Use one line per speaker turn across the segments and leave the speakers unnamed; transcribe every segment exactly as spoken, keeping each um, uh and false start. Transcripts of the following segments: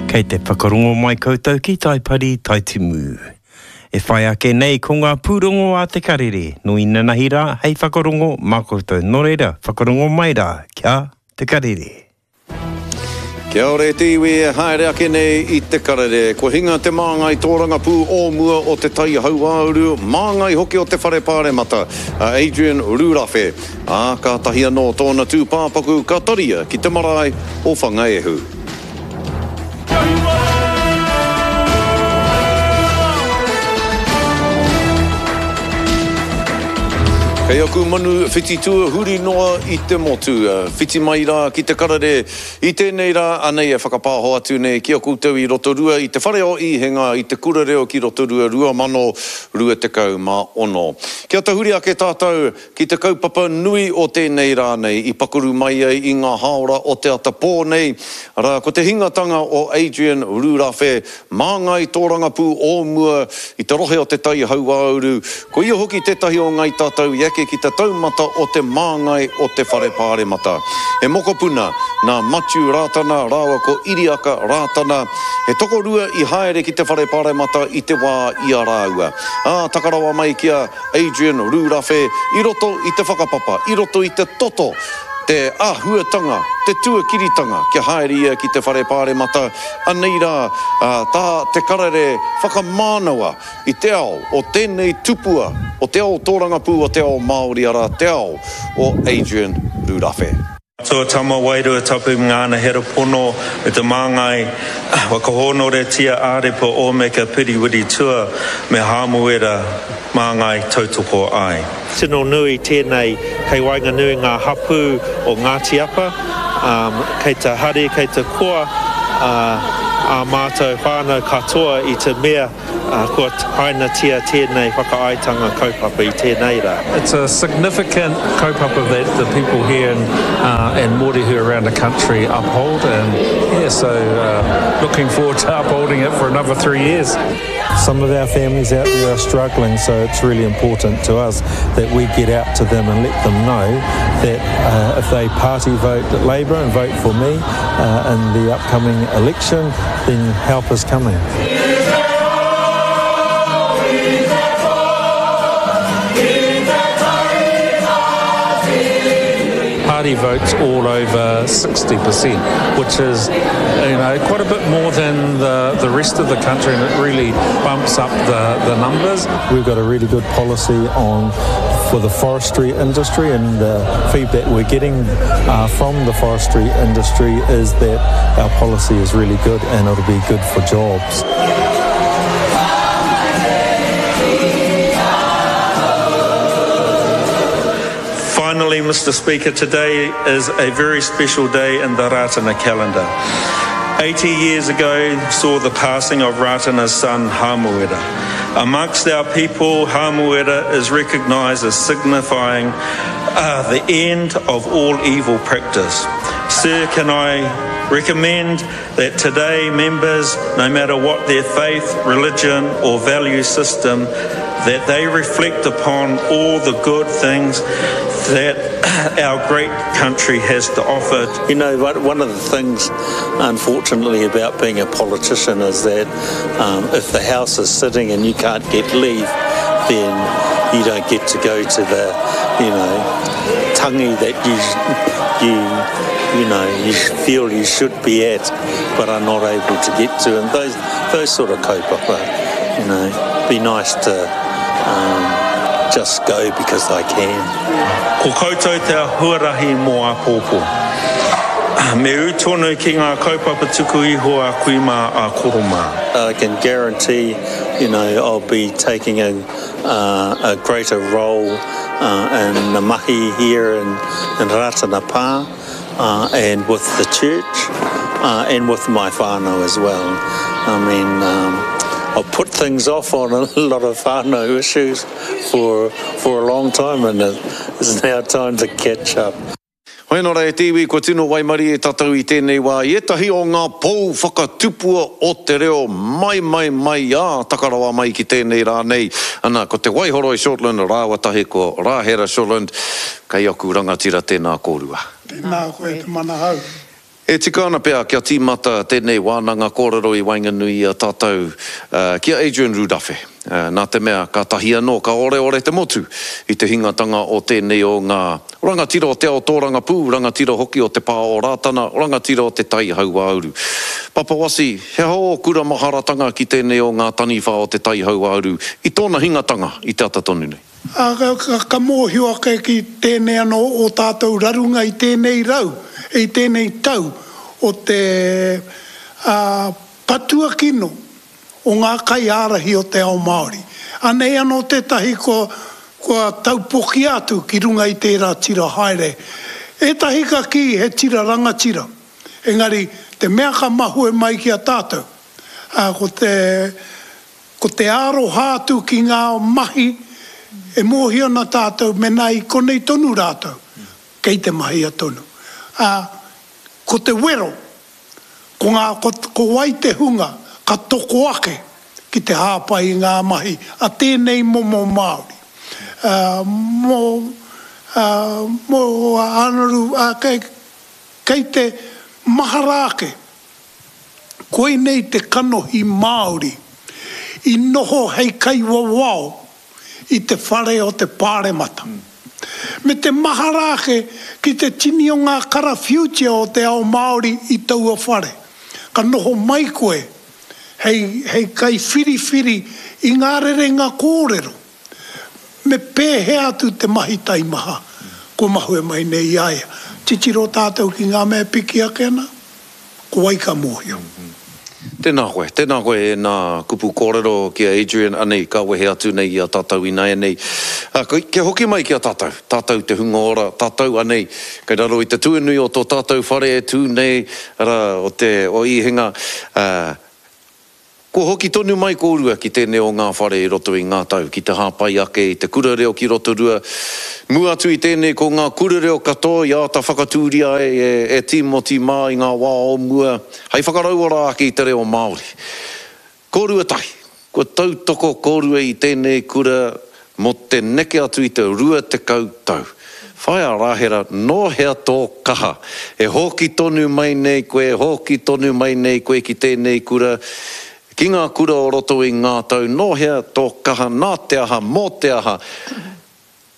Kei te whakarongo mai koutou ki Taipari Taitimu. E whai ake nei ko ngā pūrongo a te karere, no inanahi rā hei whakarongo mā koutou. Nō reira, whakarongo mai rā, kia te karere.
Kia ora e te iwi e haere ake nei i te karere. Kua hinga te māngai tōrangapū o mua o te Tai Hauāuru, māngai hoki o te Whare Pāremata, a Adrian Rurawhe. Ā, kātahi anō tōna tūpāpaku ka taria ki te marae o Whangaehu. Kei aku manu whititua huri noa i te motu. Whiti mai rā ki te karere i tēnei rā, anei e whakapāho atu nei ki a koutou i Rotorua i te whare o Īhenga i te kura reo ki Rotorua rua mano rua tekau mā ono. Kia tahuri ake tātou ki te kaupapa nui o tēnei rā nei i pakuru mai ai i ngā hāora o te ata pō nei, arā ko te hingatanga o Adrian Rurawhe, māngai tōrangapū o mua i te rohe o te Tai Hauāuru, ko ia hoki tētahi o ngai tātou i eke ki te taumata o te māngai o te Whare Pāremata. He mokopuna nā Matiu Rātana rāua ko Iriaka Rātana, he tokorua i haere ki te Whare Pāremata i te wā i a rāua. Ā, takarawa mai ki a Adrian Rurawhe i roto i te whakapapa, i roto i te toto, te āhuatanga, te tuakiritanga kia haere ia ki te Whare Pāremata, anei rā, ā, tā te karere whakamānawa i te ao o tēnei tupua, o te ao tōrangapū o te ao Māori, arā te ao o Adrian Rurawhe.
Atua Tama Wairua Tapu ngāna hera pono me te māngai whakahōnoretia ārepa Ōmeka Piriwiri Tua me Hāmuera māngai tautoko ai.
Tino nui tēnei kei waenganui ngā hapū o Ngāti Apa, um, kei te hari, kei te koa uh, ā mātou whānau katoa i te mea uh, kua hainatia tēnei whakaaetanga kaupapa i tēnei rā.
It's a significant kaupapa that the people here in, uh, and Mōrehu around the country uphold, and yeah, so uh, looking forward to upholding it for another three years.
Some of our families out there are struggling, so it's really important to us that we get out to them and let them know that uh, if they party vote Labour and vote for me uh, in the upcoming election, then help is coming.
Party votes all over sixty percent, which is, you know, quite a bit more than the, the rest of the country, and it really bumps up the, the numbers.
We've got a really good policy on for the forestry industry, and the feedback we're getting, uh, from the forestry industry is that our policy is really good and it'll be good for jobs.
Finally, Mister Speaker, today is a very special day in the Rātana calendar. eighty years ago saw the passing of Rātana's son, Hamuera. Amongst our people, Hamuera is recognised as signifying, uh, the end of all evil practice. Sir, can I recommend that today members, no matter what their faith, religion or value system, that they reflect upon all the good things that our great country has to offer.
You know, one of the things, unfortunately, about being a politician is that, um, if the House is sitting and you can't get leave, then you don't get to go to the, you know, tangi that you, you, you know, you feel you should be at, but are not able to get to. And those, those sort of kaupapa, you know, be nice to um, just go because I can.
Ko koutou te huarahi mō āpōpō. Me ū tonu ki ngā kaupapa tuku iho a kui mā a koro mā.
I can guarantee, you know, I'll be taking a, uh, a greater role, uh, in the mahi here in, in Rātana Pā, uh, and with the church, uh, and with my whānau as well. I mean, um, I've put things off on a lot of whānau issues for, for a long time, and it's now time to catch up.
Hoi nō rā e te iwi, kua tino waimari e tātou i tēnei wā i ētahi o ngā pou whakatupua o te reo mai mai mai ā takarawa mai ki tēnei rā nei. Ana, ko te Waihoroi Shortland, rāua tahi ko Rāhera Shortland, kei aku rangatira tēnā kōrua.
Tēnā koe te manahau.
E tika ana pea kia tīmata tēnei wānanga kōrero i waenganui i a tātou ki a Adrian Rurawhe, nā te mea kātahi anō ka oreore te motu i te hingatanga o tēnei o ngā rangatira o te ao tōrangapū, rangatira hoki o te pā o Rātana, rangatira o te Tai Hauāuru. Papa Wasi, he aha ō kura maharatanga ki tēnei o ngā taniwha o te Tai Hauāuru i tōna hingatanga i te ata tonu nei?
Ā, ka mōhio ake ki tēnei anō o tātou rarunga i tēnei rau, i tēnei tau o te patua kino o ngā kaiārahi o te ao Māori. Anei anō tētahi kua taupokia atu ki runga i tērā tira haere. Ētahi ka kī he tira rangatira, engari te mea ka mahue mai ki a tātou, ko te, ko te aroha atu ki ngā mahi e mōhio ana tātou mēnā i konei tonu rātou, kei te mahia tonu. Ā, ko te wero, ko ngā, ko, ko wai te hunga ka toko ake ki te hāpai i ngā mahi a tēnei momo Māori. Ā, mō, ā, mō Anaru, ā, kei, kei te mahara ake, koinei te kanohi Māori i noho hei kaiwawao i te whare o te Pāremata. Me te mahara ake ki te tini o ngā karawhiutia o te ao Māori i taua whare. Ka noho mai koe hei, hei kaiwhiriwhiri i ngā rerenga kōrero. Me pēhea atu te mahi taimaha kua mahue mai nei i a ia. Titiro tātou ki ngā mea piki ake ana, ko wai ka mōhio.
Tēnā koe, tēnā koe e nā kupu kōrero ki a Adrian, anei, ka wehe atu nei i a tātou ināianei. Kia hoki mai ki a tātou, tātou te hunga ora, tātou anei, kei raro i te tuanui o tō tātou whare e tū nei, arā, o te, o Īhenga, ā, kua hoki tonu mai kōrua ki tēnei o ngā whare i roto i ngā tau, ki te hāpai ake i te kura reo ki Rotorua. Mua atu i tēnei ko ngā kura reo katoa i āta whakatūria ai e, e Tīmoti mā i ngā wā o mua, hei whakarauora ake i te reo Māori. Kōrua tahi, kua tautoko kōrua i tēnei kura mō te neke atu i te rua tekau tau. Whaea Rahera, nō hea tō kaha? E hoki tonu mai nei koe, hoki tonu mai nei koe ki tēnei kura, ki ngā kura o roto i ngā tau, nō hea tō kaha, nā te aha, mō te aha.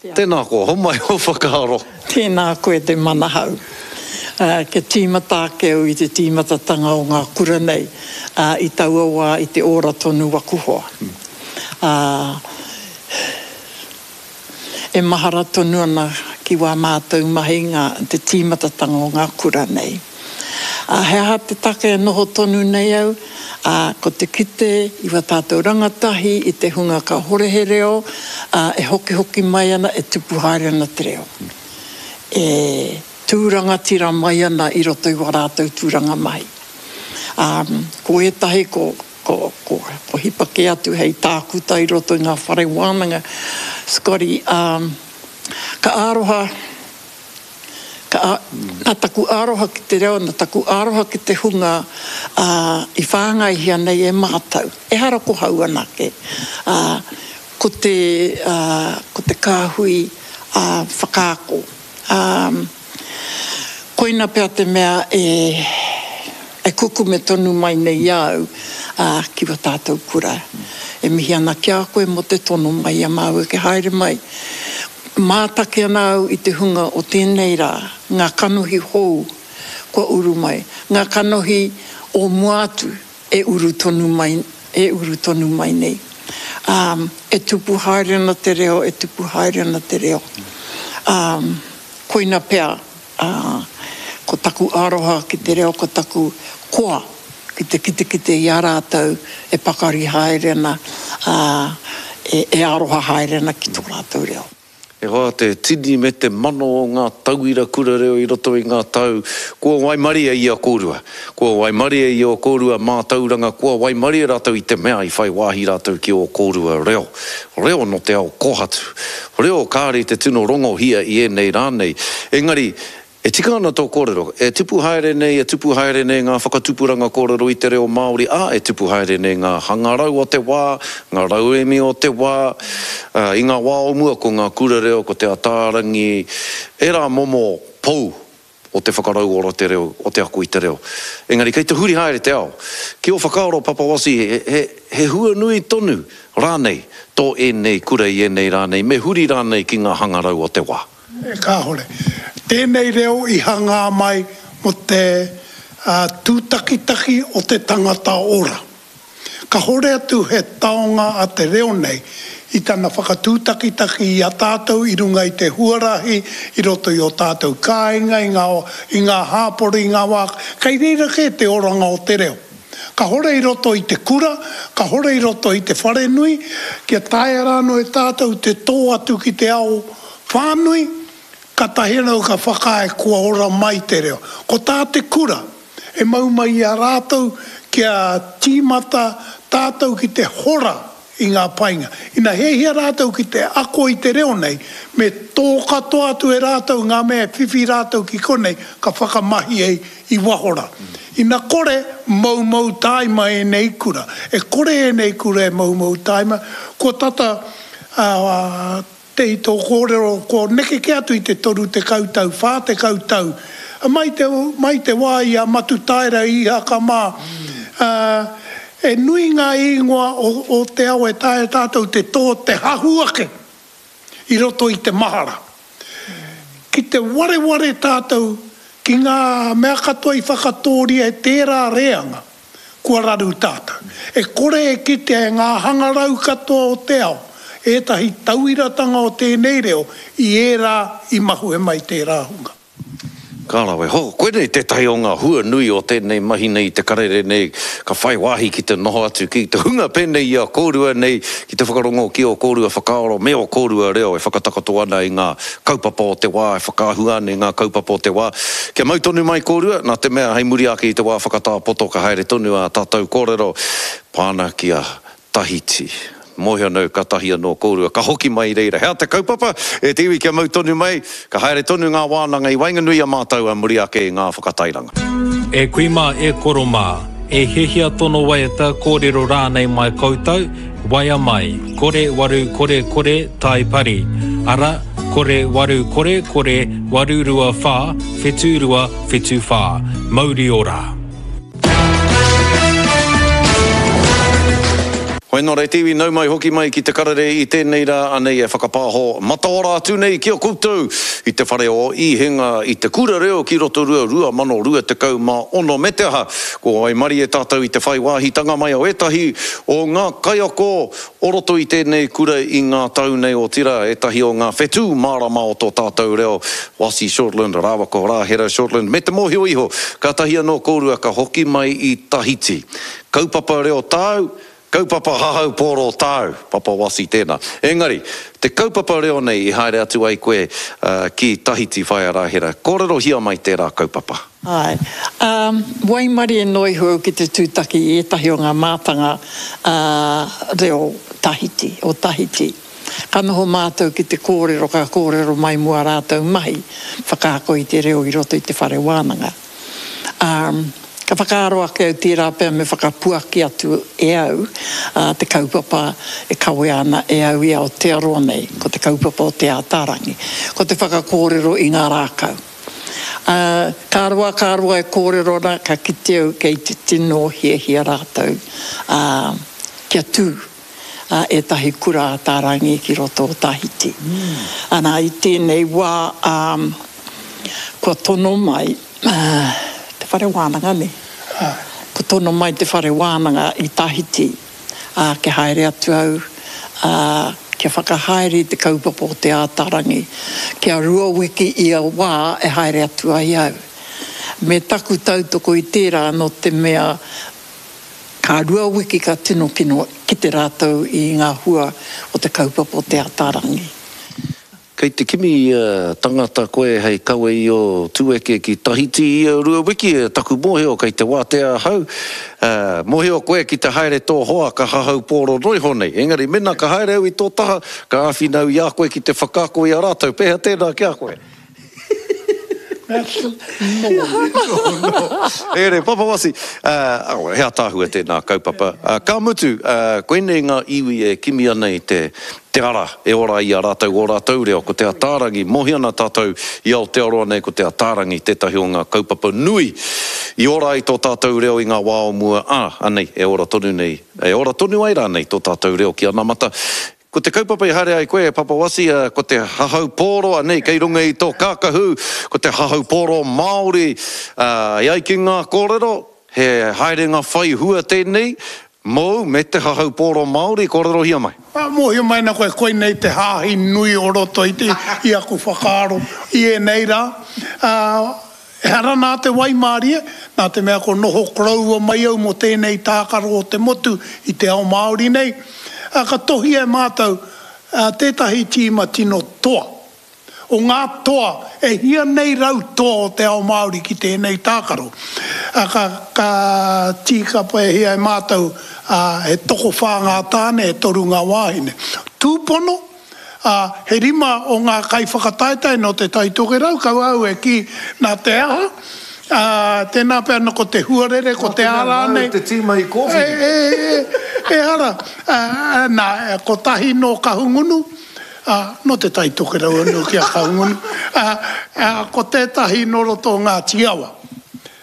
Tēnā koa, homai ō whakaaro.
Tēnā koe te manahau. Uh, kia tīmata ake au i te tīmatatanga o ngā kura nei, uh, i taua wā i te ora tonu waku hoa. Uh, e mahara tonu ana ki wā mātou mahi ngā, te tīmatatanga o ngā kura nei. Uh, he aha te take e noho tonu nei au, uh, ko te kite i wā tātou rangatahi, i te hunga ka hore he reo, uh, e hokihoki mai ana, e tupu haere ana te reo. E tūrangatira mai ana i roto i wā rātou tūranga mai. Um, ko ētahi ko, ko, ko, ko hipa kē atu hei tākuta i roto i ngā whare wānanga. Scotty, um, ka aroha, ka, nā taku aroha ki te reo, nā taku aroha ki te hunga uh, i whāngaihia nei e mātou. Ehara ko hau anake. Uh, ko te, uh, ko te kāhui uh, whakaako. Um, koina pea te mea e, e kukume tonu mai nei i a au uh, ki wā tātou kura. E mihi ana ki a koe mō te tono mai a māua ke haere mai. Mātaki ana au i te hunga o tēnei rā, ngā kanohi hou kua uru mai, ngā kanohi o mua atu e uru tonu mai, e uru tonu mai nei. Um, e tupu haere ana te reo, e tupu haere ana te reo. Um, koina pea, uh, ko taku aroha ki te reo, ko taku koa ki te kitekite i a rātou e pakari haere ana, uh, e, e aroha haere ana ki tō rātou reo.
E hoa te tini me te mano o ngā tauira kura reo i roto i ngā tau, kua waimarie i a kōrua. Kua waimarie i o kōrua mātauranga, kua waimarie rātou i te mea i whai wāhi rātou ki o kōrua reo. Reo no te ao kōhatu. Reo kāre te tino rongohia i ēnei rānei. Engari, e tika ana tō kōrero, e tupu haere nei, e tupu haere nei ngā whakatupuranga kōrero i te reo Māori, ā, e tupu haere nei ngā hangarau o te wā, ngā rauemi o te wā, uh, i ngā wā o mua ko ngā kura reo, ko te Ataarangi, ērā momo pou o te whakarauora te reo, o te ako i te reo. Engari, kei te huri haere te ao. Ki ō whakaaro, Papa Wasi, he, he, he huanui tonu rānei tō ēnei kura i ēnei rā nei, me huri rānei ki ngā hangarau o te wā?
E kāore. Tēnei reo i hangā mai mō te uh, tūtakitaki o te tangata ora. Kahore atu he taonga a te reo nei i tana whakatūtakitaki i a tātou i runga i te huarahi, i roto i o tātou kāinga, i ngā, i ngā hāpori, i ngā wā. Kei reira kē te oranga o te reo. Kahore i roto i te kura, kahore i roto i te wharenui, kia taea rānō e tātou te tō atu ki te ao whānui, ka tahi anō ka whakaae kua ora mai te reo. Ko tā te kura, e mau mai i a rātou kia tīmata tātou ki te hora i ngā painga. Ina hiahia rātou ki te ako i te reo nei, me tō katoa atu e rātou ngā mea e whiwhi rātou ki konei, ka whakamahi ai i waho rā. Ina kore, moumou tāima ēnei kura. E kore ēnei kura e moumou tāima, kua tata uh, te i tō kōrero, kua neke kē atu i te toru tekau tau, whā tekau tau. Mai te, mai te wā i a Matutaera i Ihaka mā, uh, e nui ngā ingoa o, o te ao e taea tātou te tō te hahu ake i roto i te mahara. Ki te wareware tātou ki ngā mea katoa i whakatōria e tērā reanga, kua raru tātou. E kore e kitea e ngā hangarau katoa o te ao, ētahi tauiratanga o tēnei reo i ērā i mahue mai tērā hunga.
Ka rawe. Ho, koinei tētahi o ngā hua nui o tēnei mahi nei, te karere nei, ka whai wāhi ki te noho atu ki te hunga pēnei i a kōrua nei, ki te whakarongo ki ō kōrua whakaaro me ō kōrua reo e whakatakoto ana i ngā kaupapa o te wā, e whakaahua ana i ngā kaupapa o te wā. Kia mau tonu mai kōrua, nā te mea hei muri ake i te wā whakatā poto ka haere tonu ā tātou kōrero pāna ki a Tahiti. Mōhio nau, ka tahi anō kōrua, ka hoki mai i reira. Hea te kaupapa, e te iwi kia mau tonu mai, ka haere tonu ngā wānanga i waenganui a mātou a muri ake i ngā whakatairanga.
E kui mā, e koro mā, e hiahia tono waiata kōrero rānei mai koutou, waia mai, kore waru kore kore tai pari, ara, kore waru kore kore waru rua whā, whetu rua whetu whā. Mauri ora.
Hoi nō re te iwi, nau mai hoki mai ki te karere i tēnei rā anei e whakapāho mataora atu nei ki a koutou i te whare o Īhenga i te kura reo ki Rotorua rua mano rua tekau mā ono me te aha. Ko waimarie tātou i te whai wāhitanga mai o ētahi o ngā kaiako o roto i tēnei kura i ngā tau nei o tira, ētahi o ngā whetū mārama o tō tātou reo, Wasi Shortland, rāua ko Rāhera Shortland, me te mōhio iho, ka tahi anō kōrua ka hoki mai i Tahiti. Kaupapa reo tāu, kaupapa hahau pōro tāu, Papa Wasi tēnā. Engari, te kaupapa reo nei i haere atu ai koe uh, ki Tahiti whaea Rāhera. Kōrerohia mai tērā kaupapa.
Ai. Um, waimarie noa iho au ki te tūtaki i ētahi o ngā mātanga uh, reo Tahiti, o Tahiti. Ka noho mātou ki te kōrero, ka kōrero mai mua rātou mahi, whakaako i te reo i roto i te whare wānanga. Um, Ka whakaaro ake au tērā pea me whakapuaki atu e au uh, te kaupapa e kawea ana e au i Aotearoa nei, ko te kaupapa o Te Ātaarangi, ko te whakakōrero i ngā rākau. Uh, ka roa, ka roa e kōrero ana, ka kite au kei te tino hiahia rātou uh, kia tū uh, ētahi kura Ātaarangi ki roto o Tahiti. Mm. Ana, i tēnei wā um, kua tono mai uh, te whare wānanga nei. Ko tono mai te whare wānanga i Tahiti, uh, kia haere atu au, uh, kia whakahaere i te kaupapa o Te Ātaarangi, kia rua wiki ia wā e haere atu ai au. Me taku tautoko i tērā no te mea ka rua wiki ka tino kino ki te rātou i ngā hua o te kaupapa o Te Ātaarangi.
Kei te kimi uh, tangata koe hei kawe i o tūeke ki Tahiti i a rua wiki, taku mōhio kei te wātea ahau. Uh, mōhio koe ki te haere tō hoa ka hahau pōro noiho nei. Engari mena ka haere au i tō taha, ka āwhina au i a koe ki te whakaako i a rātou. Pēhea tēnā ki a koe? No, no. E re, Papa Wasi, uh, oh, he ataahua tēnā kaupapa. Uh, ka mutu, uh, koinei ngā iwi e kimi ana i te, te ara e ora i a rātou o rātou reo, ko Te Ataarangi, mohi ana tātou i Aotearoa nei ko Te Ataarangi tētahi o ngā kaupapa nui i ora ai tō tātou reo i ngā wā o mua, ā, anei, e ora tonu nei, e ora tonu ai rānei tō tātou reo ki anamata. Ko te kaupapa i haere ai koe e Papa Wasi, ko te hahau pōro, anei, kei runga i tō kākahu, ko te hahau pōro Māori, e ai ki ngā kōrero, he haerenga whai hua tēnei mōu me te hahau pōro Māori, kōrerohia mai.
Mōhio mai ana koe, koinei te hāhi nui o roto i te, i aku whakaaro i ēnei rā. Ehara nā te waimārie, nā te mea ko noho koroua mai au mō tēnei tākaro o te motu i te ao Māori nei, ka tohia e mātou tētahi tīma tino toa. O ngā toa, e hia nei rau toa o te ao Māori ki tēnei tākaro. Ka, ka tīkapahia e mātou he tokowhā ngā tāne, e toru ngā wāhine. Tūpono, ā, he rima o ngā kaiwhakataetae nō Te Tai Tokerau, kaua au e kī nā te aha, ā, tēnā pea nō ko te huarere, ko te ā rānei.
Nā te mea nāu te tīma i kōwhiri.
E, e, e, ehara, ā, nā, kotahi nō Kahungunu, ā, nō Te Tai Tokerau anō ki a Kahungunu, ā, ā, ko tētahi nō roto o Ngāti Awa.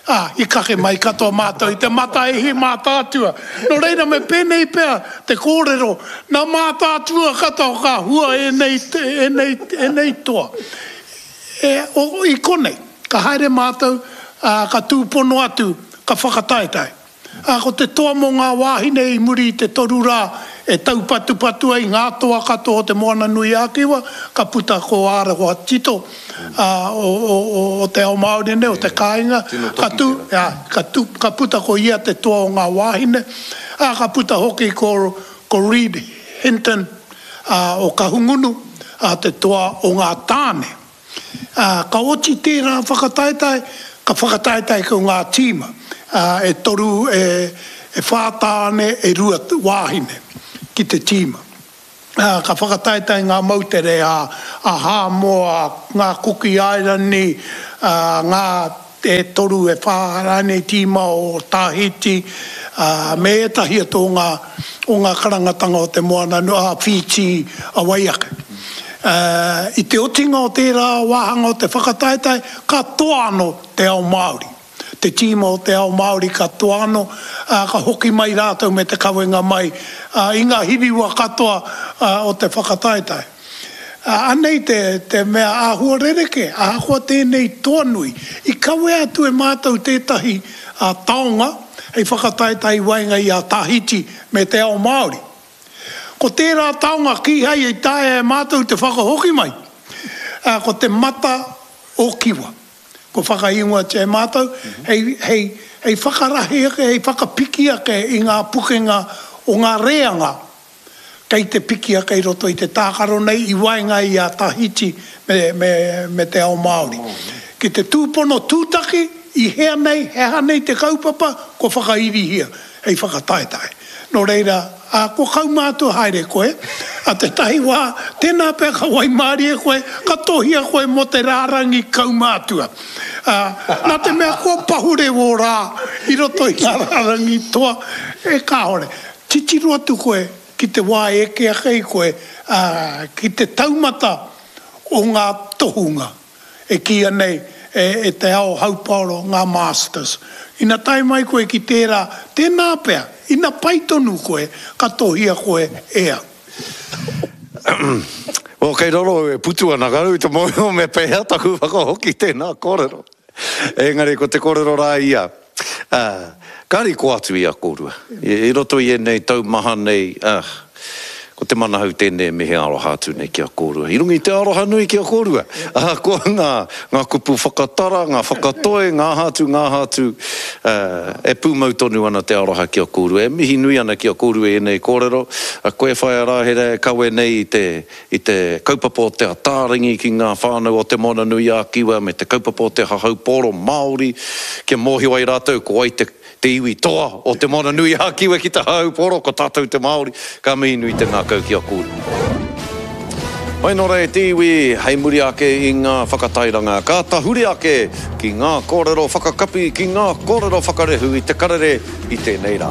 Ā, i kake mai katoa mātou i te Mataihi Mātaatua. Nō reira me pēnei pea te kōrero, nā Mātaatua katoa ka hua ēnei, ēnei, ēnei toa. E, o, i konei, ka haere mātou, ā, ka tūpono atu, ka whakataetae. Ā, ko te toa mō ngā wāhine i muri i te toru rā e taupatupatu ai ngā toa katoa o Te Moana-nui-a-Kiwa, ka puta ko Ārewa Tito, ā, o, o, o, o te ao Māori nei, o te kāinga, ka tū, ā, ka tū, ka puta ko ia te toa o ngā wāhine, ā, ka puta hoki ko, ko Reed Hinton, ā, o Kahungunu, ā, te toa o ngā tāne. Ā, ka oti tērā whakataetae, ka whakataetae ko ngā tīma, ā, e toru, e, e whā tāne, e rua wāhine ki te tīma. Ā, ka whakataetae ngā moutere a, a Hāmoa, ngā Kuki Airani, ā, ngā e toru, e whā rānei tīma o Tahiti, ā, me ētahi atu o ngā, o ngā karangatanga o te moana, ā, Whītī, a wai ake. Ā, i te otinga o tērā wāhanga o te whakataetae, ka toa anō te ao Māori. Te tīma o te ao Māori ka toa anō, ā, ka hoki mai rātou me te kawenga mai, ā, i ngā hiriwa katoa, ā, o te whakataetae. Ā, anei te, te mea āhua rerekē, ahakoa tēnei toa nui, i kawea atu e mātou tētahi, ā, taonga hei whakataetae i waenga i a Tahiti me te ao Māori. Ko tērā taonga kīhai i taea e mātou te whakahoki mai, ā, ko te mata o Kiwa. Kua whakaingoatia e mātou hei, hei, hei whakarahi ake, hei whakapiki ake i ngā pukenga o ngā reanga kei te piki ake i roto i te tākaro nei i waenga i a Tahiti me, me, me te ao Māori. Ki te tūpono tūtaki, i hea nei, he aha nei te kaupapa, kua whakairihia hei whakataetae. Nō reira, ā, kua kaumātua haere koe, ā tētahi wā, tēnā pea ka waimārie koe, ka tohia koe mō te rārangi kaumātua. Ā, nā te mea kua pahure wō rā i roto i ngā rārangi toa, e kāore. Titiro atu koe ki te wā e eke ake ai koe, ā, ki te taumata o ngā tohunga e kīia nei e te ao haupaoro ngā masters. Ina tae mai koe ki tērā, tēnā pea, ina pai tonu koe, ka tohia koe e au.
Well, kei raro au e putu ana, ka rau i te mōhio me pēhea taku whakahoki tēnā kōrero. Engari ko te kōrero rā ia, ā, ka riko atu i a kōrua. I roto i ēnei tau maha nei, ā, ko te manahau tēnei e mihi aroha atu nei ki a kōrua. I runga i te aroha nui ki a kōrua, ahakoa ngā, ngā kupu whakatara, ngā whakatoi, ngā aha atu, ngā aha atu, ā, e pūmau tonu ana te aroha ki a kōrua. E mihi nui ana ki a kōrua i ēnei kōrero. A koe Whaea Rāhera e kawe nei i te, i te kaupapa o Te Ataarangi ki ngā whānau o Te Moana-nui-ā-Kiwa me te kaupapa o te hahau pōro Māori kia mōhio ai rātou ko wai te, te iwi toa o Te Moana-nui-ā-Kiwa ki te hahau pōro, ko tātou te Māori, ka mihi nui te ngākau ki a kōrua. Mai nō rā e te iwi, hei muri ake i ngā whakatairanga, ka tahuri ake ki ngā kōrero whakakapi, ki ngā kōrero whakarehu i te karere i tēnei rā.